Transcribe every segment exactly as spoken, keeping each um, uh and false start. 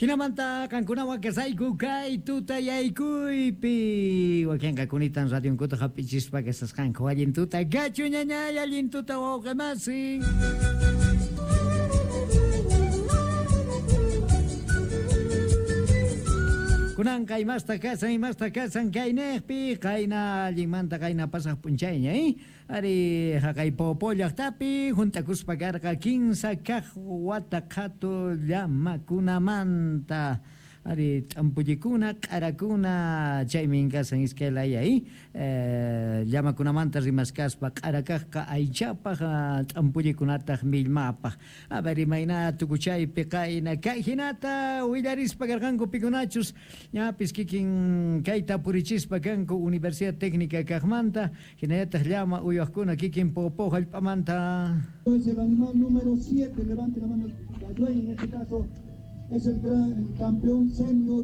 Hinamanta qankunawan kasayku kay tutayaykuypi wakinqa kunitan radionkuta hap'ichispa kasasqanku allin tuta gachu ñañay allin tuta wawqimasi. Kunanqa imasta kasan imasta kasan kaynejpi qayna allinmanta qayna pasaq p'unchayña eh? Ari haqay Poopó llaqtapi juntakuspa karqa kinsa kaq wata qhatu llamakunamanta ari t'ampullikuna q'arakuna chaymin kasan iskay laya eh? Eh, llamakunamanta rimaskaspa q'arakaqqa aychapaq t'ampullikunataq millmapaq. A ver imayna tukuchaypi qayna kay hinata willarispa karqanku pikunachus ñapis kikin kayta purichispa kanku Universidad Técnica kaqmanta hinallataq llama uywaqkuna kikin Poopó hallp'amanta. Es el animal número siete, levante la mano la dueña en este caso. Es el gran el campeón senior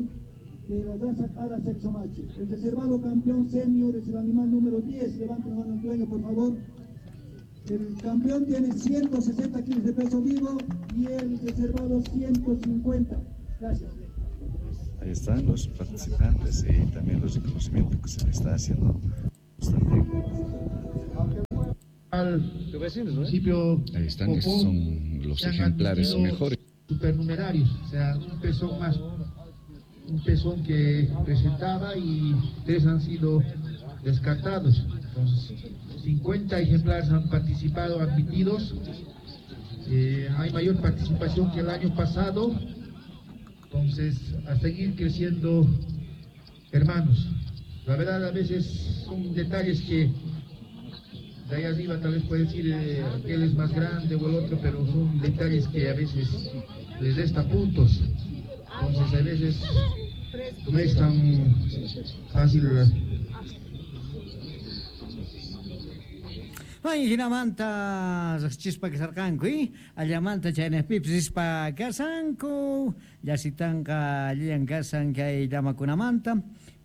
de la raza cara sexo macho. El reservado campeón senior es el animal número diez. Levanten la mano al dueño, por favor. El campeón tiene ciento sesenta kilos de peso vivo y el reservado ciento cincuenta. Gracias. Ahí están los participantes y también los reconocimientos que se le está haciendo. También. Al municipio Ahí están, estos son los ejemplares mejores. Supernumerarios, o sea, un pezón más, un pezón que presentaba y tres han sido descartados. Entonces, cincuenta ejemplares han participado, admitidos. Eh, hay mayor participación que el año pasado. Entonces, a seguir creciendo, hermanos. La verdad, a veces son detalles que de ahí arriba tal vez puede decir eh, aquel es más grande o el otro, pero son detalles que a veces les resta puntos. Entonces a veces no es tan fácil. Ay, hinamanta riqchispa kasarqanku, eh? Allamanta chaynejpipis rispa kasanku, llasitanqa allillan kasan kay llamakunamanta.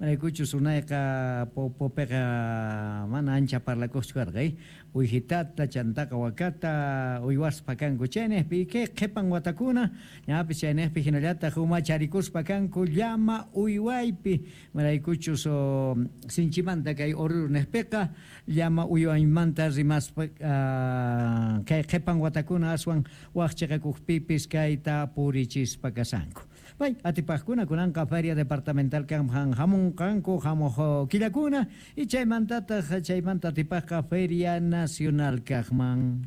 Manaykuchus unayqa Popopeqa mana ancha parlakuqchu karqa, eh? Uyhitata, chantaqa wakata, uywaspa kanku chaynejpi, kay qhipan watakuna, ñapis chaynejpi hinallataq umacharikuspa kanku llama uywaypi. Manaykuchus oh, sinchimanta kay Oruro nejpiqa llama uywaymanta rimaspa uh, kay qhipan watakuna aswan waqchiqakuqpipis kayta purichispa kasanku. Bay, atipaqkuna kunanqa feria departamental kanman hamunqanku hamuq killakuna y chaymantataq chaymanta atipaqqa feria nacional kaqman.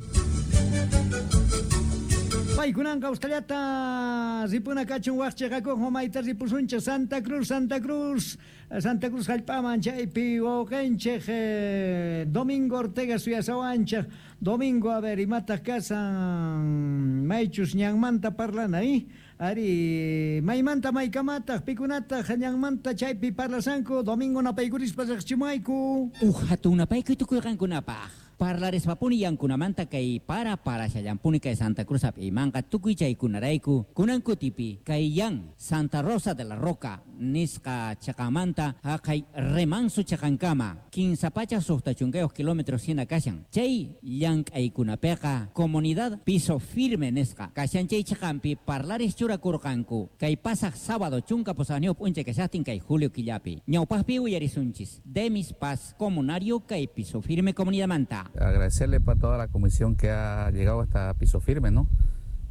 Bay, kunanqa ustallata ripuna kachun waqchiqakuq mayta ripusunchik Santa Cruz, Santa Cruz, Santa Cruz hallp'aman chaypi wawqinchik eh, Domingo Ortega suyasawanchik. Domingo, a ver, imataq kasan maychus ñanmanta parlana, eh? Ari, maymanta maykamataq pikunataq ñanmanta chaypi parlasanku. Domingo napaykurispa riqchimayku. Uj hatun napaykuy tukuyqankunapaq. Parlarispapuni yankunamanta kay para parashallampuni kay Santa Cruz hap'iymanqa tukuy chaykunarayku kunankutipi kay yan Santa Rosa de la Roca nisqa chaqamanta haqay Remanso chaqankama kinsa pachak suqta chunkayuq kilómetros hina kashan chay llank'aykunapiqa comunidad Piso Firme nisqa kashan chay chaqanpi parlaris churakurqanku kay pasaq sábado chunka pusaqniyuq p'unchay kashaqtin kay julio killapi ñawpaqpi uyarisunchis Demis Paz comunario kay Piso Firme comunidadmanta. Agradecerle para toda la comisión que ha llegado hasta Piso Firme, ¿no?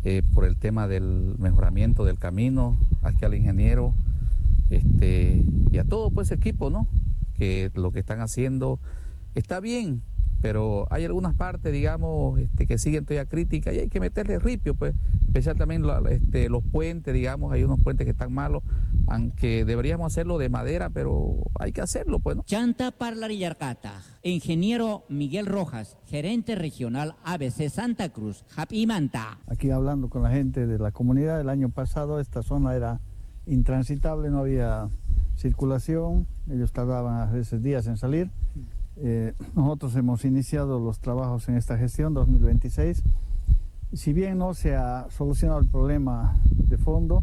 Eh, por el tema del mejoramiento del camino, aquí al ingeniero, este, y a todo pues equipo, ¿no? Que lo que están haciendo está bien, pero hay algunas partes, digamos, este, que siguen todavía críticas y hay que meterle ripio, pues, especial también la, este, los puentes, digamos, hay unos puentes que están malos, aunque deberíamos hacerlo de madera, pero hay que hacerlo, pues, ¿no? Chanta parlarillarqata, ingeniero Miguel Rojas, gerente regional A B C Santa Cruz, Japimanta. Aquí hablando con la gente de la comunidad, el año pasado esta zona era intransitable, no había circulación, ellos tardaban a veces días en salir. Eh, nosotros hemos iniciado los trabajos en esta gestión dos mil veintiséis. Si bien no se ha solucionado el problema de fondo,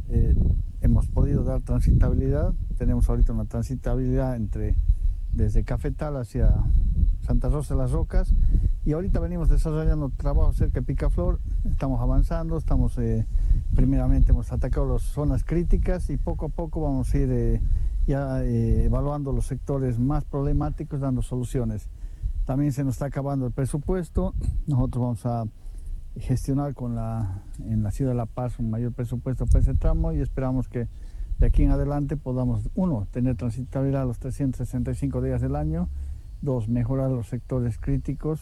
eh, hemos podido dar transitabilidad. Tenemos ahorita una transitabilidad entre, desde Cafetal hacia Santa Rosa de las Rocas, y ahorita venimos desarrollando trabajo cerca de Picaflor. Estamos avanzando, estamos eh, Primeramente hemos atacado las zonas críticas y poco a poco vamos a ir eh, ya eh, evaluando los sectores más problemáticos, dando soluciones. También se nos está acabando el presupuesto. Nosotros vamos a gestionar con la, en la ciudad de La Paz un mayor presupuesto para ese tramo y esperamos que de aquí en adelante podamos, uno, tener transitabilidad los trescientos sesenta y cinco días del año, dos, mejorar los sectores críticos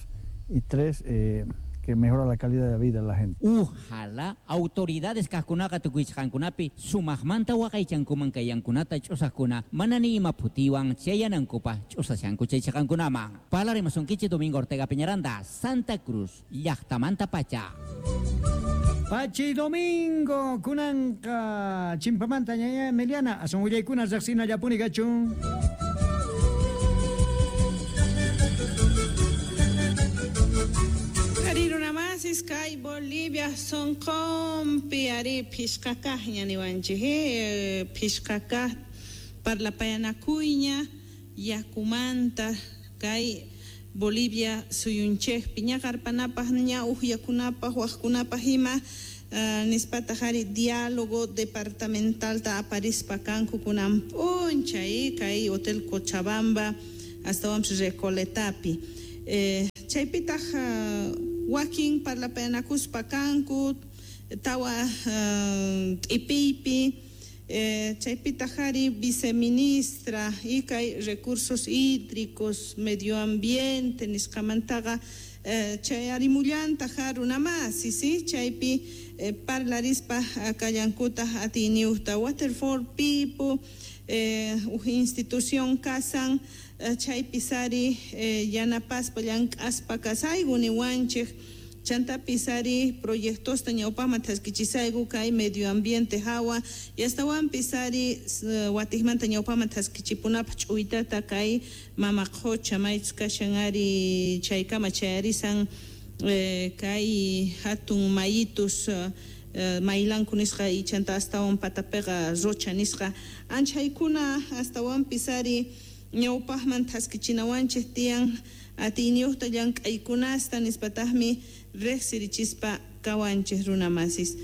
y tres, eh, que mejora la calidad de vida de la gente. Ojalá autoridades kajkunaqa tukuychqankunapi sumaqmanta waqaychankuman kayankunata ch'usaqkuna mana ni ima phutiwan chayanankupaq ch'usashanku chay chaqankunaman. Parlarimasunkichik Domingo Ortega Peñaranda, Santa Cruz, llaqtamanta pacha. Pachi Domingo, kunanqa chimpamanta ñaña Emiliana, asun willaykuna riqsina llapuni kachun. Runamasis kay Bolivia sonqonpi ari phishqakaqña niwanchik eh, phishqakaq parlapayanakuyña yakumanta kay Bolivia suyunchikpi ñaqarpanapaq ña uqyakunapaq waqkunapaq ima uh, nispataq ari diálogo departamentalta aparispa kanku kunan p'unchay kay Hotel Cochabamba astawanpis Recoletapi eh, chaypitaq uh, wakin parlapayanakuspa kanku tawa uh, t'ipiypi eh, chaypitaq ari viceministra y kay recursos hídricos medio ambiente nisqamantaqa eh, chay arimullantaq runamasi si chaypi eh, parlarispa kallankutaq atiyniyuqta Water for People eh, uj institución kasan chaypis ari eh, yanapaspa llank'aspa kasayku niwanchik chantapis ari proyectosta ñawpaqman thaskichisayku kay medio ambiente hawa y astawanpis ari uh, watiqmanta ñawpaqman thaskichipunapaq ch'uytata kay mama qhucha maychus kashan ari chaykama chayarisan eh, kay hatun mayitus uh, Uh, maylanku nisqa y chanta astawan patapiqa rocha nisqa anchaykuna astawanpis ari ñawpaqman thaskichinawanchik tiyan atiyniyuqta llank'aykunasta nispataqmi riqsirichispa kawanchik runamasis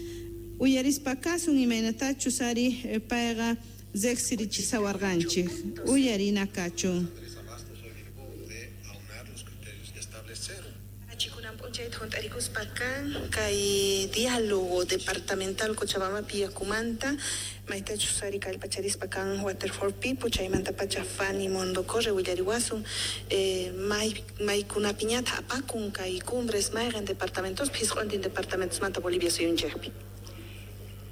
uyarispa kasun imaynatachus ari payqa riqsirichisawarqanchik uyarina kachun. P'unchayta kan kay diálogo departamental Cochabambapi yakumanta maytachus ari kallpacharispa kan Water for People chaymanta pacha Fanny Mondocorre willariwasun eh, may maykunapiñata apakun kay cumbres mayqin departamentos phisq'untin departamentosmanta Bolivia suyunchikpi.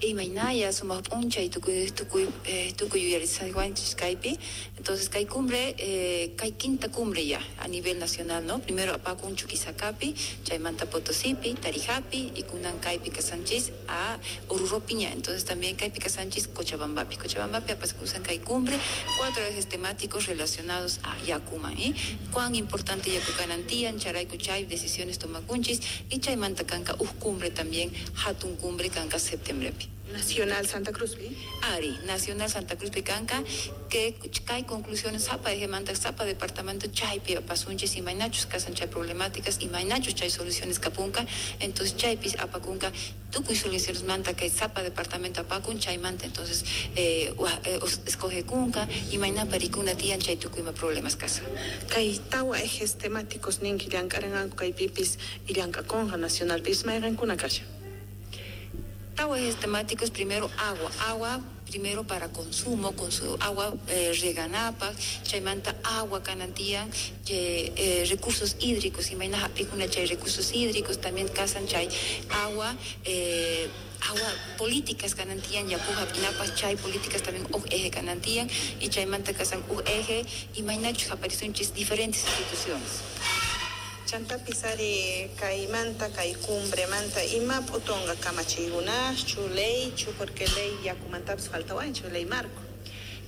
Imaynaya sumaq p'unchay tukuy tukuy eh, tukuy yuyarisqanchis kaypi. Entonces kay cumbre eh, kay quinta cumbre ya a nivel nacional, ¿no? Primero apakun Chuquisacapi, chaymanta Potosipi, Tarijapi y kunan kaypi kasanchis a Oruropiña. Entonces también kaypi kasanchis Cochabambapi. Cochabambapi apakusan kay cumbre, cuatro ejes temáticos relacionados a Yakuman, ¿eh? Cuán importante Yakukanantian, charayku chay decisiones tomakunchis y chaymanta kanka uj cumbre también, hatun cumbre kanka septiembrepi. Nacional Santa Cruz, ¿sí? Ari, Nacional Santa Cruz Picanca, que hay conclusiones, zapa de manta, zapa departamento, chaypi, pasunchis y mainachos, casan chay problemáticas y mainachos chay soluciones capunca, entonces chaypis apacunca, tucuy soluciones manta, que zapa departamento apacun, chay manta, entonces eh, eh, escoge cunca y mainá paricuna tian chay tucuyma problemas casa. Kay tawa ejes temáticos ninki llankarananku kay pipis y llankaconja nacional pis mayqankuna kasha. Tawa ejes temáticos, primero agua, agua primero para consumo, con su agua eh, reganapa, chaymanta agua canantía, eh, eh, recursos hídricos, y maina japicuna chay recursos hídricos, también casan chay agua, eh, agua políticas canantían, yapuja pinapa chay políticas también uj eje canantían, y chaymanta casan uj eje, y mainachu aparecen diferentes instituciones. Chantapis ari kaymanta kay cumbremanta ima p'utunqa kamachiykunaschu leychu porque ley yakumantapis faltawanchu ley marco.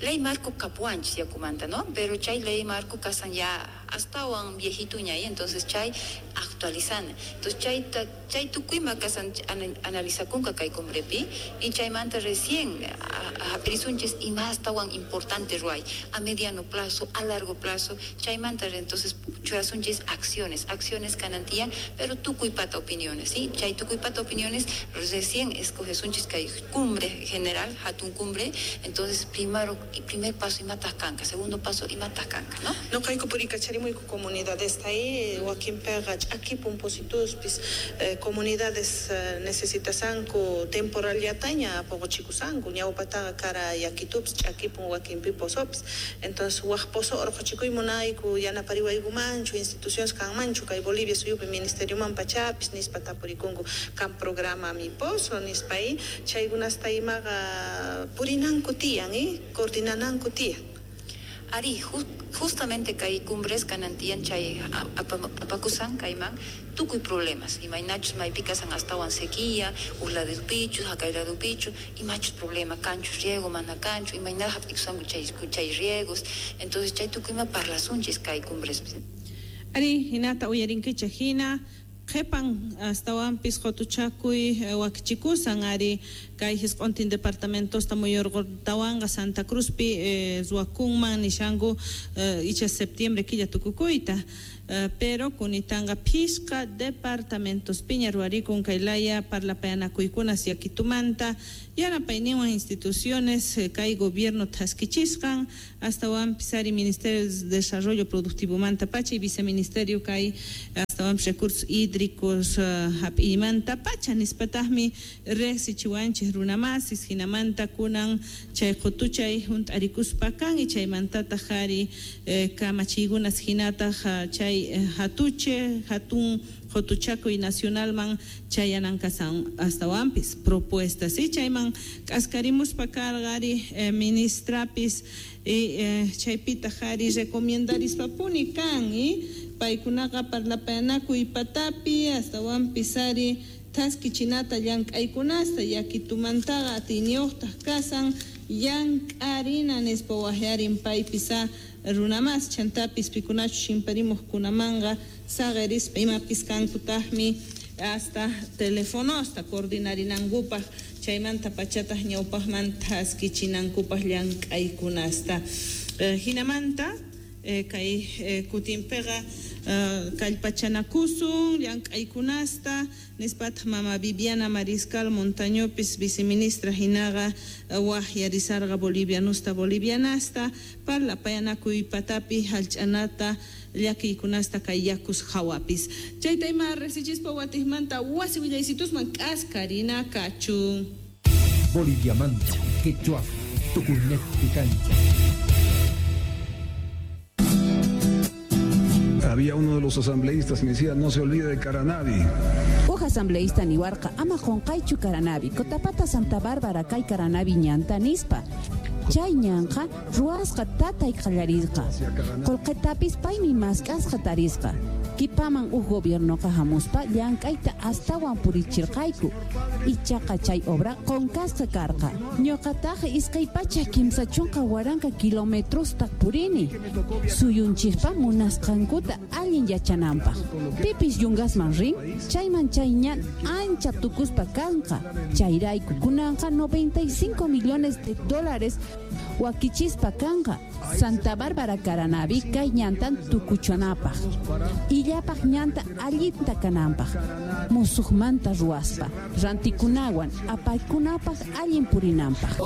Ley marco kapuanchis yakumanta, ¿no? Pero chay ley marco kasan ya astawan viejituña y entonces chay actualizana. Entonces chay chay tukuyma kasan analizakunka kay cumbrepi y chaymanta recién hap'irisunchis imastawan importante ruay a mediano plazo, a largo plazo, chaymanta entonces churasunchis acciones, acciones kanantiyan, pero tukuy pata opiniones, ¿sí? Chay tukuy pata opiniones recién escogesunchis kay cumbre general, hatun cumbre, entonces primero primer paso imatas kanka, segundo paso imatas kanka, ¿no? No kayku purikacharimoyku comunidades ahí, wakinpiqa ch'akipun posituspis, eh, comunidades eh, necesitasanku temporallataña poqochikusanku, ñawpataqa kara yakitupis ch'akipun wakinpi posopis, entonces waj pozo orqochikuy munayku yanapariwaykumanchu instituciones kanmanchu kay Bolivia suyupi ministerioman pachapis nispa tapurikunku kan programa mi pozo nispa ahí chaykunasta imaqa purinanku tiyan, eh, coordinananku tiyan. Ari, ju justamente kay cumbres kanantiyan chay apakusan kayman tukuy problemas, imaynachus maypikasan astawan sequía, usladupichu, hakayladupichu, imachus problema, kanchus riego, mana kanchu, imayna hap'ikusanku chay chay riegos, entonces chay tukuyma parlasunchis kay cumbres. Ari, hinata uyarinkichej hina qhipan astawanpis qutuchakuy wakichikusan ari kay hisq'untin departamentosta muyurqutawanqa Santa Cruzpi eh, ruwakunman nishanku eh, icha septiembre killa tukukuyta eh, pero kunitanqa phisqa departamentos piña ruwarikun kay laya parlapayanakuykunas yakitumanta yanapayninwan instituciones eh, kay gobierno thaskichisqan astawanpis ari Ministerio de Desarrollo Productivomanta pacha y viceministerio kay astawanpis recursos hídricos uh, hap'iymanta pacha nispataqmi riqsichiwanchik runamasis hinamanta kunan chay qutuchay hunt'arikuspa kan y chaymantataq ari eh, kamachiykunas hinataq uh, chay eh, hatuche hatun qutuchakuy nacionalman chayanankasan astawanpis propuestas y chayman k'askarimuspa karqa ari eh, ministrapis y eh, chaypitaq ari recomiendarispapuni kan y paykunaqa parlapayanakuy patapi astawanpis ari thaskichinata llank'aykunasta yakitumantaqa atiyniyuqtaq kasan llank'arina nispa waqyarin paypis runamas chantapis pikunachus chimparimuqkunamanqa saqerispa imapis kankutaqmi hasta telefonosta coordinarinankupaq chaymanta pachataq ñawpaqman thaskichinankupaq llank'aykunasta eh, hinamanta eh, kay eh, kutinpiqa eh, kallpachanakusun llank'aykunasta nispataq mama Viviana Mariscal Montañopis viceministra hinaqa eh, waqyarisarqa bolivianusta bolivianasta parlapayanakuy patapi hallch'anata llakiykunasta kay yakus hawapis chayta ima riqsichispa watiqmanta wasi willaysitusman k'askarina kachun. Boliviamanta quechua tukuynejpi kancha. Había uno de los asambleístas que me decía, no se olvide de Caranavi. Uj asambleísta niwarqa ama qunqaychu Caranavi, Cotapata Santa Bárbara kay Caranavi ñanta nispa. Chay ñanqa ruwasqa tatay qallarisqa. Qullqitapis paymi mask'asqa tarisqa. Kipaman uj gobiernoqa hamuspa llank'ayta astawan purichirqayku. Ichaqa chay obra qunqasqa karqa. Ñuqataq iskay pachak kimsa chunka waranqa kilometrosta purini. Suyunchikpa munasqankuta allin yachananpaq. Pipis yungasman rin, chayman chay ñan ancha tukuspa kanqa. Chayrayku kunanqa noventa y cinco millones de dólares wakichispa kanqa. Santa Bárbara Caranavi kay ñantan tukuchanapaq. Illapaq ñanta allinta kananpaq. Musuqmanta ruwaspa, rantikunawan apaykunapaq allin purinanpaq.